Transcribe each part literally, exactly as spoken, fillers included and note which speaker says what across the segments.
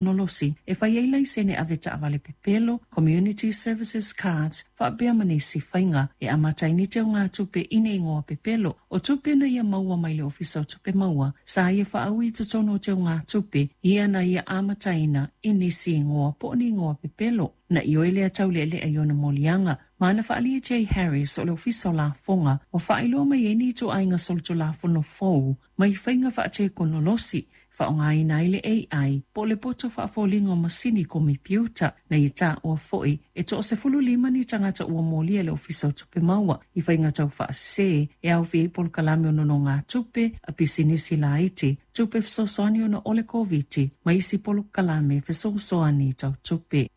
Speaker 1: Nolosi e fai ai laisene ave taavale pepelo, Community Services Cards, faapea ma nisi faiga e amata ai ni teugatupe i ni igoa pepelo. O tupe na ia maua mai le Ofisa o Tupe Maua, sa ia faaui i totonu o teugatupe ia na ia amataina i nisi igoa po o ni igoa pepelo. Na ioe lea taulealea i ona moliaga, ma na faaalia Jay Harris o le Ofisa o Lafoga ua faailoa mai ai ni ituaiga solitulafono fou mai faiga faatekonolosi faaaogaina ai le A I po o le poto faafoliga o masini komepiuta. Na ia taua foi e toasefulu lima ni tagata ua molia le Ofisa o Tupe Maua i faiga tau faasese e aofia ai polokalame o nonogatupe a pisinisi laiti, tupe fesoasoani ona o le Koviti ma isi polokalame fesoasoani tau tupe.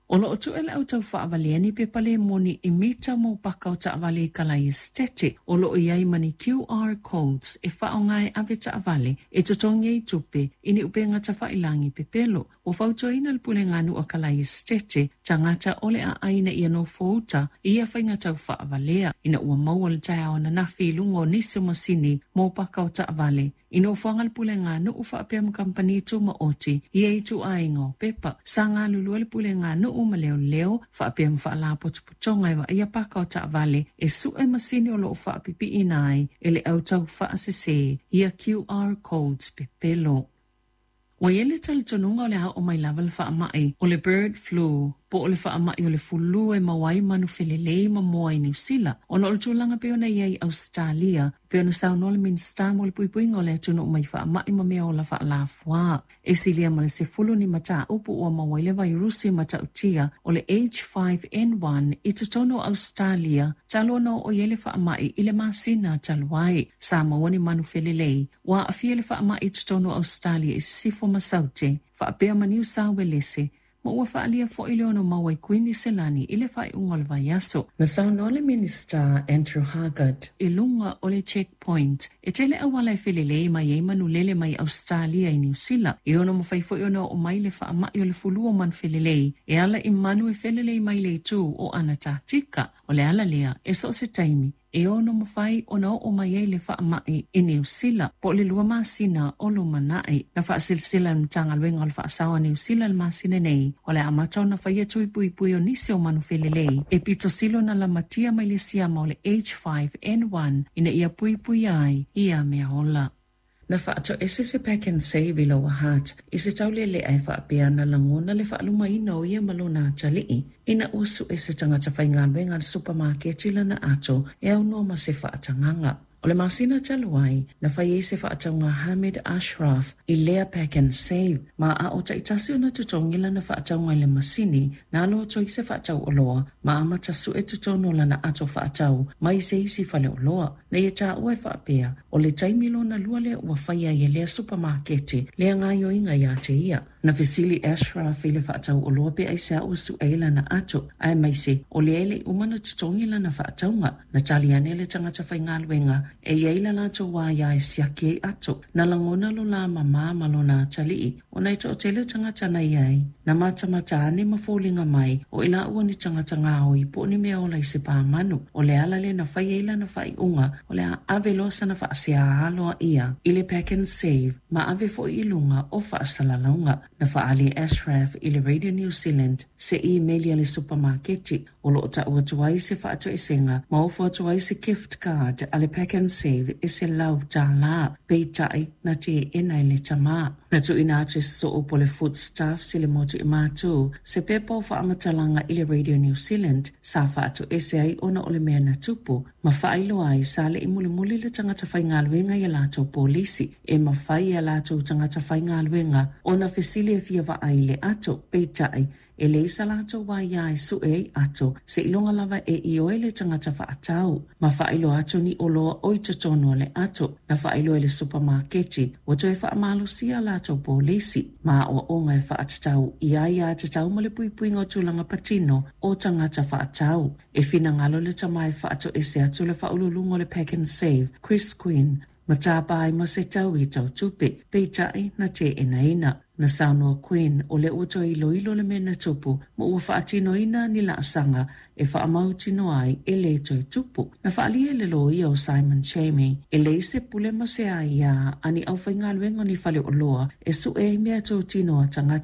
Speaker 1: O loo tu'e le au taufaavalia ni pepa le moni i mita mo paka o taavale i kalai esitete o loo i ai ma ni Q R codes e faaaoga e ave taavale e totogi ai tupe i ni upega tafailagi pepelo. Ua fautuaina le pulega a kalai esitete tagata o le aai ina ia nofouta i ia faiga taufaavalea ina ua maua le taeao ananafi i luga o nisi o masini mo paka o taavale i nofoaga le puleganuu faapea ma kamupani tumaoti ia ituaiga o pepa. Sa galulue le puleganuu ma leoleo faapea ma faalapotopotoga e vaaia paka o taavale e su'e masini o loo faapipiina ai e le au taufaasese ia Q R codes pepelo. Ua i ai le talitonuga o le a oo mai lava le faamai o le bird flu po o le faamai o le fulu e maua ai manu felelei ma moa i Niusila ona o le tulaga pei ona i ai Ausetalia, pei ona saunoa le Minisita mo le Puipuiga o le Atunuu mai Faamai ma Mea Ola Faalafuā. E silia ma le sefulu ni mataupu ua maua ai le vairusi matautia o le H five N one i totonu o Ausetalia talu ona oo i ai le faamai i le masina talu ai. Sa maua ni manu felelei ua aafia le faamai i totonu o Ausetalia i Sisifo ma Saute faapea ma Niu Sauelese, ma ua faaalia foi le ono maua i Kuiniselani i le faaiuga o le vaiaso. Na saunoa le Minista Andrew Hoggard i luga o le Checkpoint e tele auala e felelei mai ai manulele mai Australia i Niu Sila e ono mafai foi ona oo mai le faamai o le fulu o manu felelei e ala i manu e felelei mai le itu o Anatatika. O le ala lea e so o se taimi e ono mafai ona oo mai ai le faamai i Niu Sila po o le lua masina o lumanai. Na faasilasila le Matagaluega o le Faasao a Niu Sila le masina nei o le amata ona faia tui puipui o nisi o manu felelei e pitosilo na lamatia mai le siama o le H five N one ina ia puipuia ai ia mea ola. Na faatoese se Pak'nSave i Lower Hutt i se taulelea e faapea na lagona le faalumaina o ia ma lona atalii ina ua su'e se tagata faigaluega a le supamaketi lana ato e aunoa ma se faatagaga. O le masina talu ai, na fai ai se faatauga Hamid Ashraf i lea Pak'nSave, ma a o taitasi ona totogi lana faatauga i le masini, na alo atu ai se faatau oloa ma amata su'e totonu o lana ato faatau mai se isi faleoloa. Na ia taua e faapea, o le taimi lona lua lea ua faia ai e lea supamaketi lea gaoioiga ia te ia. Na fesili Ashraf i le faatau oloa pe aisea ua su'e ai lana ato, aemaise o lea e le'i uma na totogi lana faatauga. Na tali ane le tagata faigaluega e i ai la latou aia e siaki ai ato. Na lagona lo la mamā ma lona atalii ona e toatele tagata na i ai na matamata ane ma foliga mai o i laua ni tagata gaoi po o ni mea ola i se pamanu. O le ala lea na fai ai lana faaiuga o le a ave loa sana faasea aloaia i le Pak'nSave ma ave foi i luga o faasalalauga. Na faaali e Ashraf i le Radio New Zealand se email a le supamaketi o loo tau atu ai se faatoesega ma ofo atu ai se gift card a le Pak'nSave e selau tālā, peitai na teena e le tamā. Na tuuina atu e soo po le Foodstuffs i le motu i Matu se pepa o faamatalaga i le Radio New Zealand sa faatoese ai ona o le mea na tupu ma faailoa ai sa le'i mulimuli le tagata faigaluega ia latou polisi e mafai e latou tagata faigaluega ona fesili e fia vaai le ato, peitai e leai sa latou aiā e su'e ai ato seiloga lava e ioe le tagata faatau ma faailoa atu ni oloa o i totonu o le ato. Na faailoa e le supamaketi ua toe faamalosia latou polisi ma aoaoga e faatatau i aiā tatau ma le puipuiga o tulaga patino o tagata faatau. E finagalo le tamā e faatoese atu le faauluuluga o le Pak'nSave Chris Quinn ma tāpā ai ma se tau i tau tupe, peitai na teenaina. Na saunoa Quinn o lea ua toe iloilo le mea na tupu ma ua faatinoina ni laasaga e faamautinoa ai e lē toe tupu. Na faaalia e le loia o Simon Chamie e leai se pule ma se aiā a ni aufaigaluega o ni faleoloa e su'e ai meatotino a tagata.